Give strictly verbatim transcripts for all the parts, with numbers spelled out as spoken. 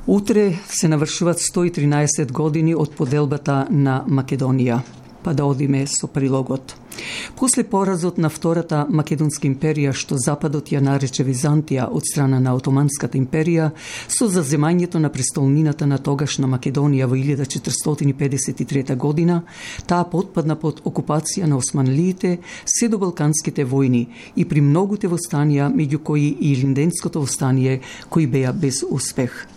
Утре се навршуваат сто и тринаесет години од поделбата на Македонија. Па да одиме со прилогот. После поразот на Втората Македонска империја, што Западот ја нарече Византија од страна на Отоманската империја, со заземањето на престолнината на тогашна Македонија во илјада четиристотини педесет и трета година, таа потпадна под окупација на османлиите, се до Балканските војни и при многуте востанија, меѓу кои и Илинденското востание, кои беа без успех.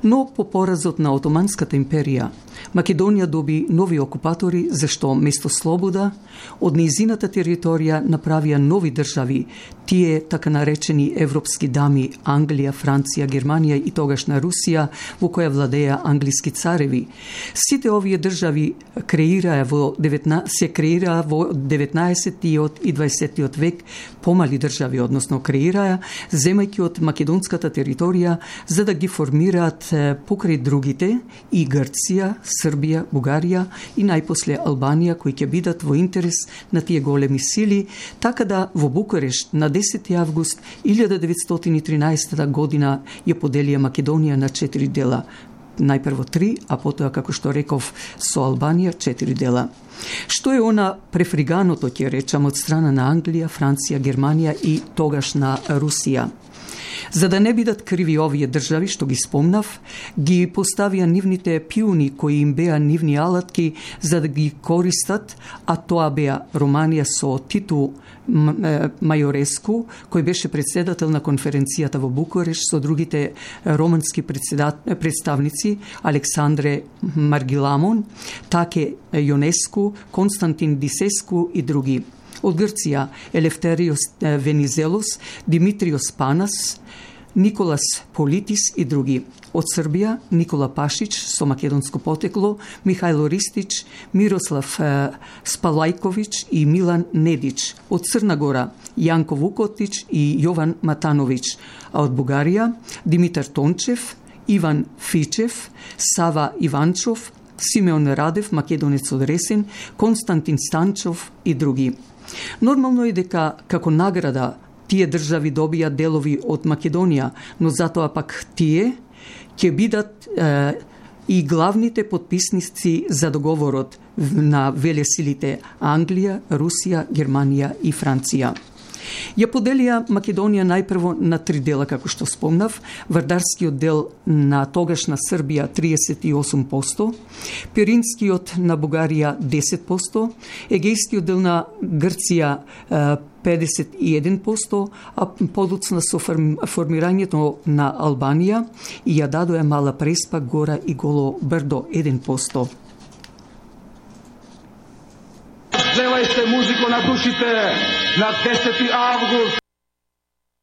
Но по поразот на Отоманската империја, Македонија доби нови окупатори, зашто место слобода, од нејзината територија направија нови држави, тие така наречени европски дами Англија, Франција, Германија и тогашна Русија, во која владеа англиски цареви. Сите овие држави креираа во деветнаесет се креираа во деветнаесеттиот и дваесеттиот век помали држави, односно креираа, земајќи од македонската територија за да ги формираат покрај другите и Грција, Србија, Бугарија и најпосле Албанија, кои ќе бидат во интерес на тие големи сили, така да во Букурешт на десети август илјада деветстотини и тринаесета година ја поделија Македонија на четири дела. Најпрво три, а потоа, како што реков, со Албанија четири дела. Што е она префриганото, ќе речам, од страна на Англија, Франција, Германија и тогашна Русија? За да не бидат криви овие држави, што ги спомнав, ги поставија нивните пиуни кои им беа нивни алатки за да ги користат, а тоа беа Романија со Титу Мајореску, кој беше председател на конференцијата во Букуреш, со другите романски представници Александре Маргиламон, Таке Јонеску, Константин Дисеску и други. Од Грција Елефтериос Венизелос, Димитриос Панас, Николас Политис и други. Од Србија Никола Пашич со македонско потекло, Михајло Ристич, Мирослав Спалајковиќ и Милан Недич. Од Црна Гора Јанко Вукотич и Јован Матановиќ. А од Бугарија Димитар Тончев, Иван Фичев, Сава Иванчов, Симеон Радев, македонец од Ресен, Константин Станчов и други. Нормално е дека како награда тие држави добија делови од Македонија, но затоа пак тие ќе бидат е, и главните потписници за договорот на велесилите Англија, Русија, Германија и Франција. Ја поделија Македонија најпрво на три дела, како што спомнав, Вардарскиот дел на тогашна Србија триесет и осум проценти, Пиринскиот на Бугарија десет проценти, Егејскиот дел на Грција педесет и еден проценти, а подоцна со формирањето на Албанија и ја дадоа Мала Преспа, Гора и Голо Брдо еден проценти. Зевајте музико на душите на десети август